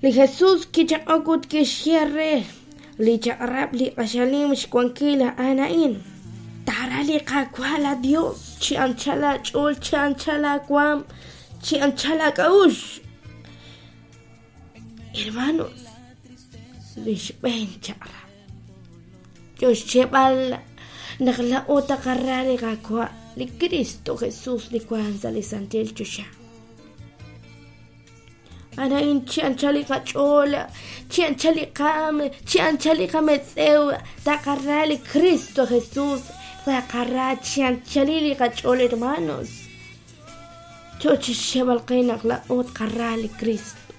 Li Jesús kichaq'ok ut kixye re, Li chaq'rab' li q'axal nim xwankil a'an a'in, Taara li Qaawa' laaYos chi anchal aach'ool, chi anchal aawaanm, chi anchal aak'a'uxl. Hermanos, li xb'een chaq'rab' yo xyeeb'al naq laa'o taqara li Qaawa', li Kristo Jesús li wank sa' li santil choxa. A'an chi anchal li qach'ool, chi anchal li qaanm, chi anchal li qametz'ew, taqara li Kristo Jesús, taqara chi anchalil li qach'ool, hermanos. Yo chi xyeeb'al qe naq laa'o tqara li Kristo,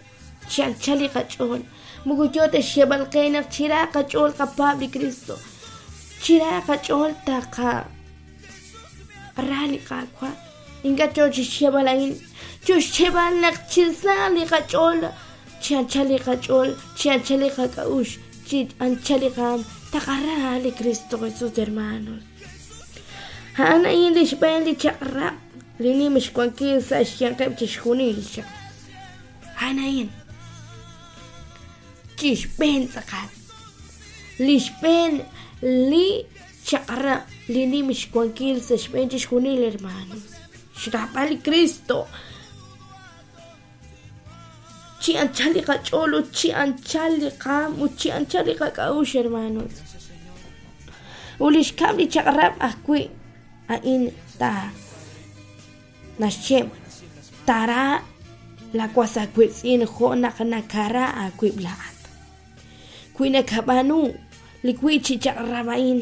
chi anchal li qach'ool. Moko yo ta xyeeb'al qe naq chira qach'ool qapaab' li Kristo, chira qach'ool taqara li Qaawa'. Ink'a' yo chi xyeeb'al a'in, yo xyeeb'al naq chi sa li qach'ool, chi anchal li qach'ool, chi anchal li qak'a'uxl, chi anchal li qaanm, taqara li Kristo Jesús, hermanos. A'an a'in li xb'een li chaq'rab' li nim xwankil sa' xyanqeb' chixjunil li chaq'rab'. A'an a'in chi xb'een tz'aqal. Li xb'een li chaq'rab' li nim xwankil sa' xb'een chixjunil, hermanos. Xraab'al li Kristo chi anchal li qach'ool ut chi anchal li qaanm ut chi anchal li qak'a'uxl, hermanos. Ut li xkab' li chaq'rab' ajwi' a'in ta naxye taara laawas aawiitz'in jo' naq nakara aawib' laa'at. Wi nakab'aanu li wiib' chi chaq'rab' a'in,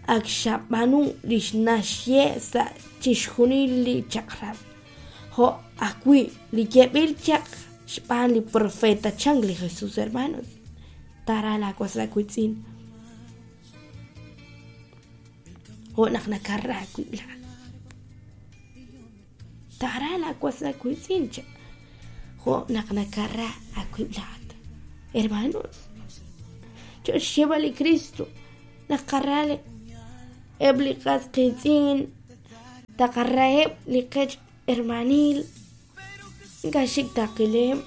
ak xab'aanu li naxye sa' chixjunil li chaq'rab', jo' ajwi' li yeeb'il chaq xb'aan li profeta chan li Jesús, hermanos. Taara laawas aawiitz'in jo' naq nakara aawib' laa'at. Taara laawas aawiitz'in cha jo' naq nakara aawib' laa'at. Hermanos, yo xyeeb'al li Kristo naq qara eb' li qas qiitz'in, taqaraheb' li qech hermanil, ink'a' xik taqileb'.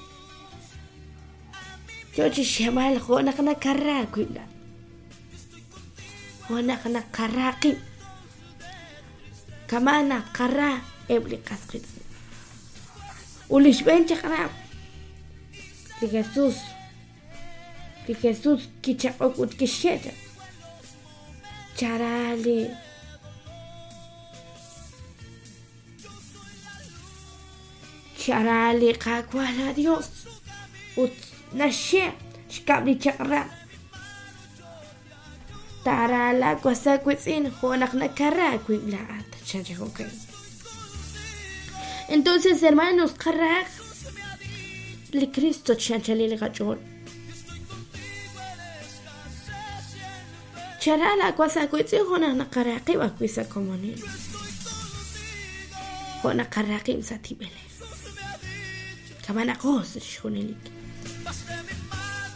Yo chi xyeeb'al jo' naq nakara aawib' laa'at, jo' naq naqara qib'. Kama' naqara eb' li qas qiitz'in. Ut li xb'een chaq'rab', li Jesús, li Jesús kichaq'ok ut kixye chaq, Chara li Chara li Qaawa' laaYos ut naxye xkab' li chaq'rab'. Taara laawas aawiitz'in jo' naq nakara aawib' laa'at, chan chi jo'kan. Entonces, hermanos, qarahaq li Cristo chi anchalil li qach'ool. Chara laawas aawiitz'in jo' naq naqara qib' ajwi' sa' komonil, jo' naqara qib' sa' tib'elej. Kama'naqo sa' chixjunil.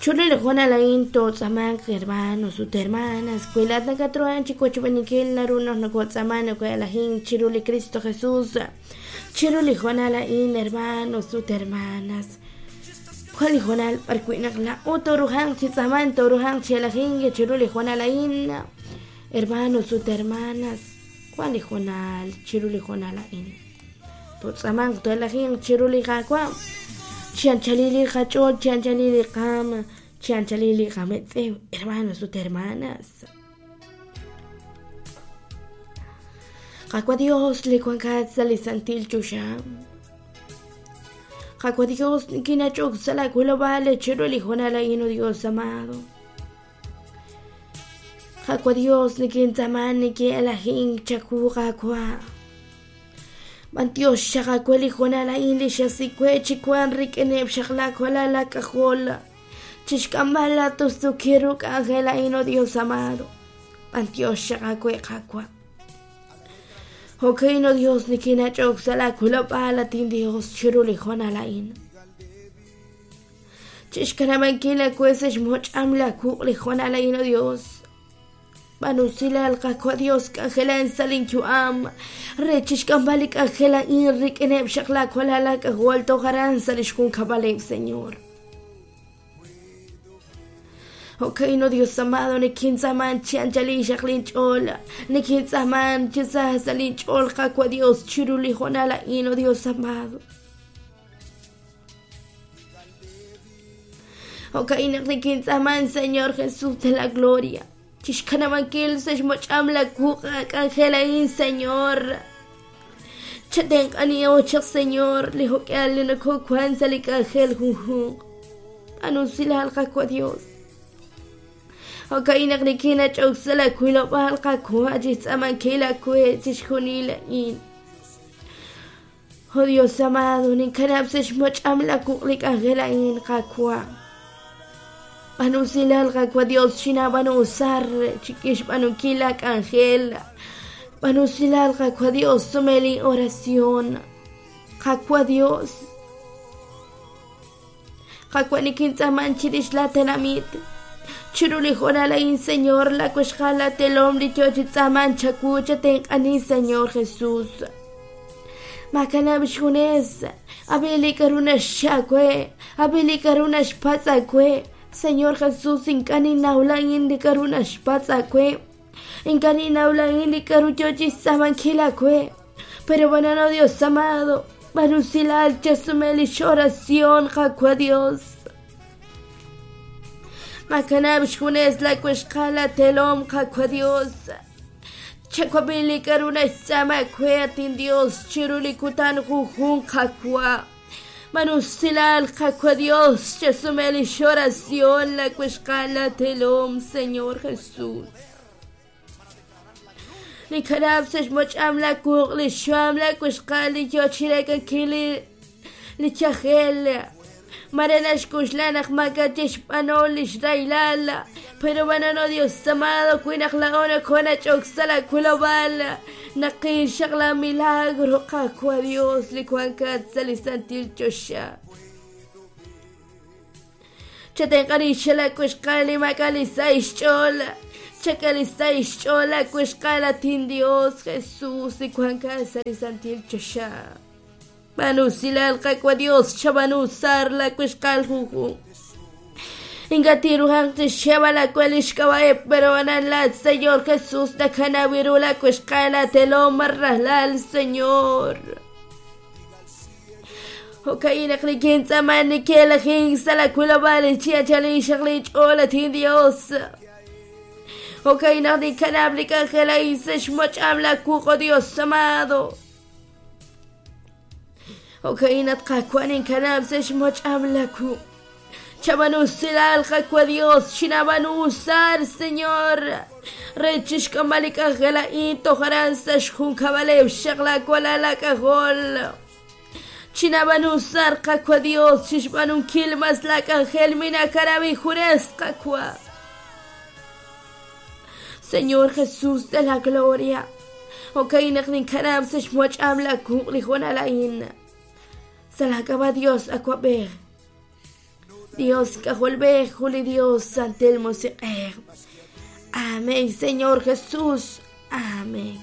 Chiru li hoonal a'in tootz'aamanq hermanos ut hermanas, wi laa'at nakatruhank chi wochb'eeninkil naru naq nokotz'aamank noko'elajink chiru li Kristo Jesus. Chiru li hoonal a'in hermanos ut hermanas, wan li hoonal b'arwi' naq laa'o tooruhanq chi tz'aamank, tooruhanq chi elajink chiru li hoonal a'in hermanos ut hermanas, wan li hoonal chiru li hoonal a'in. Totz'amanq to'elajinq chiru li Qaawa', chi anchalil li qach'ool, chi anchalil li qaam, chi anchalil li qametz'ew, hermanos ut hermanas. Qaawa' Dios li wankat sa' li santil choxa. Qaawa' Dios nikinach'ok sa' laa wilob'aal chiru li hoonal a'in, oh Dios amado. Qaawa' Dios nikintz'aaman nikin'elajink chawu Qaawa'. B'antiox xaq aawe li hoonal a'in li xasik we chi wank rik'ineb' xaq laawalal laak'ajol chi xk'amb'al laatustuukil ru k'anjel a'in, oh Dios amado. B'antiox xaq aawe Qaawa'. Jo'kan, oh Dios, nikinach'ok sa' laawilob'aal, at inDios, chiru li hoonal a'in. Chixkanab'ankil aawe sa' xmoch'am laawuq' li hoonal a'in, oh Dios. B'aanu usilal, Qaawa' Dios, k'anjelan sa' linyu'am re chixk'amb'al li k'anjel a'in rik'ineb' xaq laawalal laak'ajol toj aran sa' li xjunkab'aleb', Señor. Jo'ka'in, oh Dios amado, nikintz'aaman chi anchal inxaq linch'ool, nikintz'aaman chi sa sa' linch'ool, Qaawa' Dios, chiru li hoonal a'in, oh Dios amado. Jo'ka'in naq nikintz'aaman, Señor Jesús de la Gloria, chixkanab'ankil sa' xmoch'am la wuq' k'anjel a'in, Señor. Chatenq'aniho chaq, Señor, li jo'k'ihal li nokowank sa' li k'anjel junjunq. B'aanu usilal, Qaawa' Dios. Jo'ka'in naq nikinach'ok sa' la wilob'aal, Qaawa', chixtz'aamankil aawe chixjunil a'in. Oh Dios amado, ninkanab' sa' xmoch'am la wuq' li k'anjel a'in, Qaawa'. B'aanu usilal, Qaawa' Dios, chinaab'aanu usar chik'ixb'aanunkil la k'anjel. B'aanu usilal, Qaawa' Dios, sume lin oración. Qaawa' Dios, Qaawa' nikintz'aaman chirix la tenamit. Chiru li hoonal a'in, Señor, la wixqal la telom li yoo chi tz'aaman chawu, chatenq'ani, Señor Jesús. Maakanab' xjunes, ab'i li k'a'ru naxye aawe, ab'i li k'a'ru naxpatz' aawe. Señor Jesús, ink'a' ninnaw laa'in li k'a'ru naxpatz' aawe. Ink'a' ninnaw laa'in li k'a'ru yoo chixtz'aamankil aawe. Pero bueno, Dios amado, b'aanu usilal chasume lix oración, Qaawa' Dios. Maakanab' xjunes la wixqal la telom, Qaawa' Dios. Chawab'i li k'a'ru naxtz'aama aawe, at inDios, chiru li kutan junjunq, Qaawa'. B'aanu usilal, Qaawa' Dios, chasume lix oración la wixqal la telom, Señor Jesús. Ninkanab' sa' xmoch'am la wuq' li xxam la wixqal li yoo chireek'ankil li li yajel. Mare naxk'oxla naq maak'a' tixb'aanu li xrahilal, pero bueno, no Dios amado, wi naq laa'o nokoonach'ok sa' la wilob'aal, naqil xaq la milagro, Qaawa' Dios, li wankat sa' li santil choxa. Chatenq'a li xala wixqal li maak'a' li sa' xch'ool, chak'a li sa' xch'ool la wixqal at inDios Jesús li wankat sa' li santil choxa. B'aanu usilal, Qaawa' Dios, chab'aanu usar la wixqal junjunq. Ink'a' tinruhanq chixyeeb'al aawe li xk'ab'a'eb', pero anan laat, Señor Jesús, nakanaw ru la wixqal aatelom rajlal, Señor. Jo'ka'in naq nikintz'aaman nikelajink sa' la wilob'aal chi anchal inxaq linch'ool, at inDios. Jo'ka'in naq ninkanab' li k'anjel a'in sa' xmoch'am la wuq', oh Dios amado. Jo'ka'in at Qaawa' ninkanab' sa' xmoch'am la wuq'. Chab'aanu usilal, Qaawa' Dios, chinaab'aanu usar, Señor, re chixk'amb'al li k'anjel a'in toj aran sa' xjunkab'aleb' xaq laawalal aak'ajol. Chinaab'aanu usar, Qaawa' Dios, chixb'aanunkil mas laak'anjel minakanab' injunes, Qaawa'. Señor Jesús de la Gloria, jo'ka'in naq ninkanab' sa' xmoch'am la wuq' li hoonal a'in. Sa' laak'ab'a' Dios Awab'ej, Dios K'ajolb'ej, jun li Dios Santil Musiq'ej. Amén, Señor Jesús. Amén.